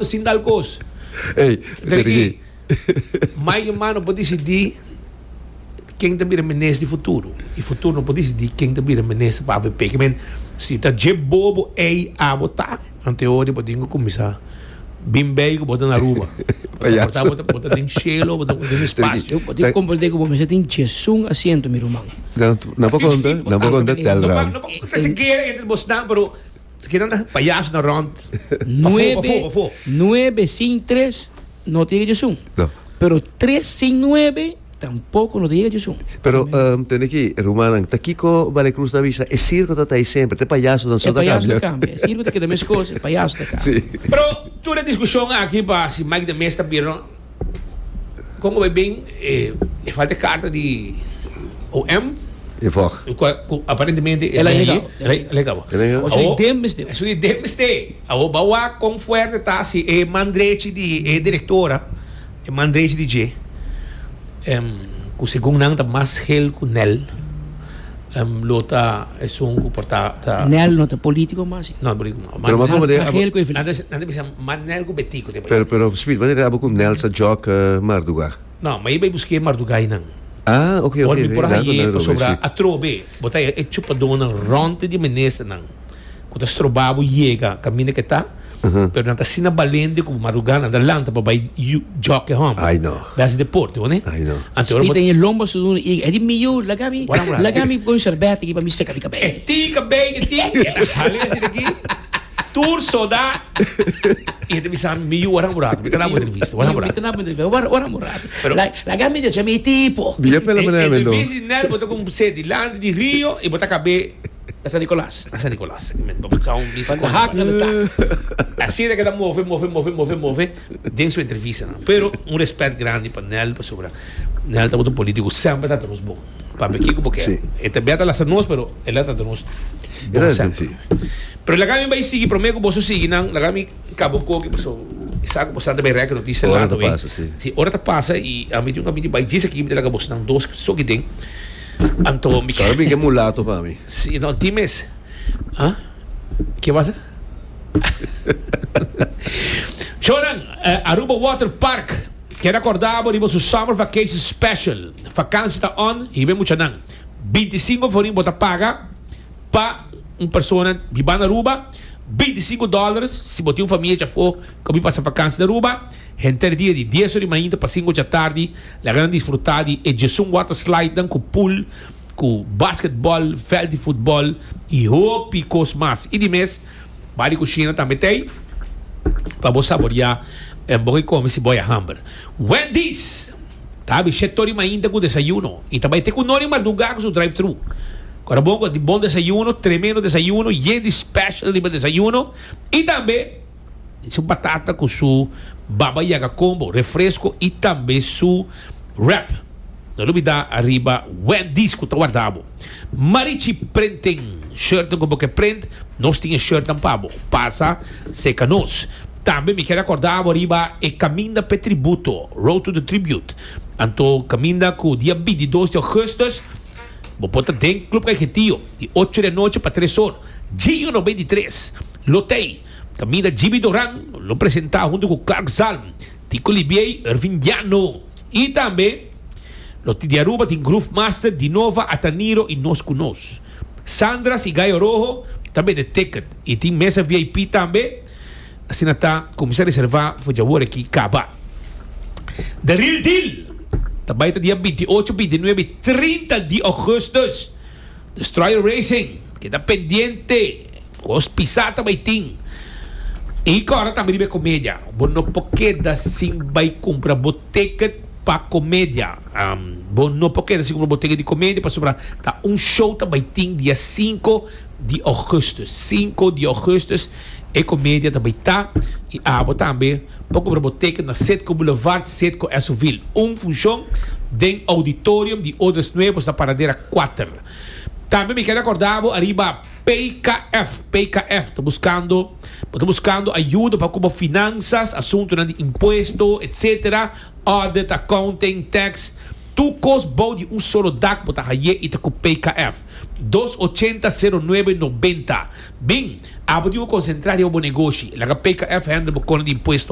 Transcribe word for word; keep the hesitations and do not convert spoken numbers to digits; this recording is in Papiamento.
Sin dal kos. Ey, Teriki, Mike Eman no por dicidi ken ta bira minister di futuro. Y futuro no por dicidi ken ta bira minister pa A V P. Ke men, si ta dje bobo ey abo ta, anto bo tin cu cuminsa bin bij cu bo ta na Aruba. Payaso. Bo ta bo ta den cielo, bo ta den espacio. Bo tin cu comprende cu bo mester tin diesun asiento, mi ruman. No, no por conta, no por conta. No Telram. pa, no pa sikiera entre bosnan, pero sikiera anda payaso na rond. Nuebe, Pafó, pafó. nuebe sin tres no ta yega diesun. No. Pero tres sin nuebe tampoco no ta yega diesun. Pero, um, tende aki, ruman, ta kico Vale Cruz ta bisa, e circo ta ey semper, te payaso no E so ta payaso cambia. cambia. E circo ta keda mes cos, e payaso ta cambia. Si. Pero tur e discusion aki pa si Mike de Meza bira, con bay bin, eh, e falta carta di O M. E vog. Cu, cu aparentemente El a yega. El a yega. El a yega. O sea, dem mester. Eso di dem mester. Awo bawa con fuerte ta si e man drechi di e directora, e man drechi di G. Em, cu segun nan ta mas gel cu Nel. Em, lo ta esun cu por ta ta Nel no ta politico mas. No, politico. Pero maar como de Ta gel cu e Antes antes bisa man Nel cu Betico te. Pero pero speed, wanneer abo com Nel sa jok uh, marduga? No, maar je bij busque mardugai nan. Ah, oké, oké. Por mi por Daar haye komt pasobra atrobe, bo ta e chupadónan rond di ministernan ku ta stroba bo yega kaminda ke ta, pero nan ta asina balente ku madrugá nan ta lanta pa bai jòk e hòmber. Ai no. Bai hasi deporte, ho ne? Ai no. Anto ora bo Spita in lomba su duna i e di mi yu, laga mi, Wara un rato. Laga mi pon sorbete aki pa mi seka mi E kabei. tin kabei ke tin, e ta hali asi di aki, tur soda, i e ta bisa mi yu, wara un rato, mi ta dabo entrevista, wara un Mi rato. ta dabo entrevista, wara wara un rato. Pero- La- Laga mi drecha mi tipo. Bia pela manera mendo. Entrevista di Nel, bo ta con se dilanti di Rio i bo ta kabe Na San Nicolas. Na San Nicolas. Men, bo ta un bisa Van de hak naar de tak. Asina cu ta move, move, move, move, move den su entrevista, no? Pero un respet grandi pa Nel, pasobra Nel ta un politico semper ta nos bon. Pa Kiko porque Si. e ta beta las nos, pero el ta nos bon Era semper. si. Pero laga mi bay sigui, prome cu boso sigui nan, laga mi cabo un coki, paso sa cu boso bay rek noticia Ora lato, ta eh. pasa, si. Si, ora ta pasa y ami tin un camino bay djis aki, mi ta laga boso nan dos so ki den. Anto mi Claro, que mulato pa mi. Si, no, times. Ah? Kico pasa? Shonan, eh, Aruba Water Park. Kier recorda bo su Summer Vacation Special. Vakantie ta on, y mucha nan. binticinco florin bo ta paga pa un persona biba na Aruba. binticinco dollars si bo tin un famia afo cu bay pasa vakantie na Aruba. Henter dia di dies or di mainta pa cinco di atardi. Laga nan disfruta di e diesun water slide dan cu pool, cu basketball, veld di futbol y hopi cos mas. Y di mes, bar di cushina tambe tin pa bo saborea un bo come si bo hamber. Wendy's ta habri shete or di mainta cu desayuno y tambe tin cu nori marduga cu su drive-thru. Awor bon, di bon desayuno, tremendo desayuno, yen di special di desayuno y tambe su batata cu su baba yaga combo, refresco y tambe su wrap. No lubida ariba Wendy's cu ta warda bo. Marichi Printing, shirt cu bo kier print, nos tin shirt pa bo. Pasa, serca nos. Tambe mi kier recorda ariba e Caminda pa Tributo, Road to the Tribute. Anto caminda cu dia bintidos di augustus, bo por ta den Club Caiquetio, di ocho di anochi pa tres or. Gio noventa i tres, lo t'ey. Caminda Jimmy Doran, lo presenta hunto cu Clark Zalm, Tico Libier, Irving Llano. Y tambe lo di Aruba tin Groove Master, Dinova, Ataniro y Nos cu Nos. Sandra y Gallo Rojo tambe di ticket. Y tin mesa V I P tambe. Asina ta, cuminsa reserva, for di awor aki caba. The Real Deal. Tambe ta dia binti ocho, binti nuebe, trinta di augustus. Destroyer Racing. Keda pendiente. Os pisata bay tin. Y awor tambe riba comedia. Bo no por keda sin bay cumpra bo ticket pa comedia. Um, bo no por keda sin cumpra bo ticket di comedia pasobra ta un show ta bay tin dia cinco di augustus. cinco di augustus e comedia tambe ta y abo tambe por cumpra bo ticket na Citgo Boulevard, Citgo Essoville. Un funcion den auditorium di Odres Nuevos na Paradera cuater. Tambe mi kier recorda ariba P K F, P K F, ta buscando, ta buscando ayudo pa cu finanzas, asunto di impuesto, et cetera. Audit, accounting, tax, tur cos bou di un solo dak, bo ta haye y ta cu P K F. dos ochenta cero nuebe noventa. Bin, Abo tin cu concentra riba bo negoshi. Laga P K F handle bo di impuesto.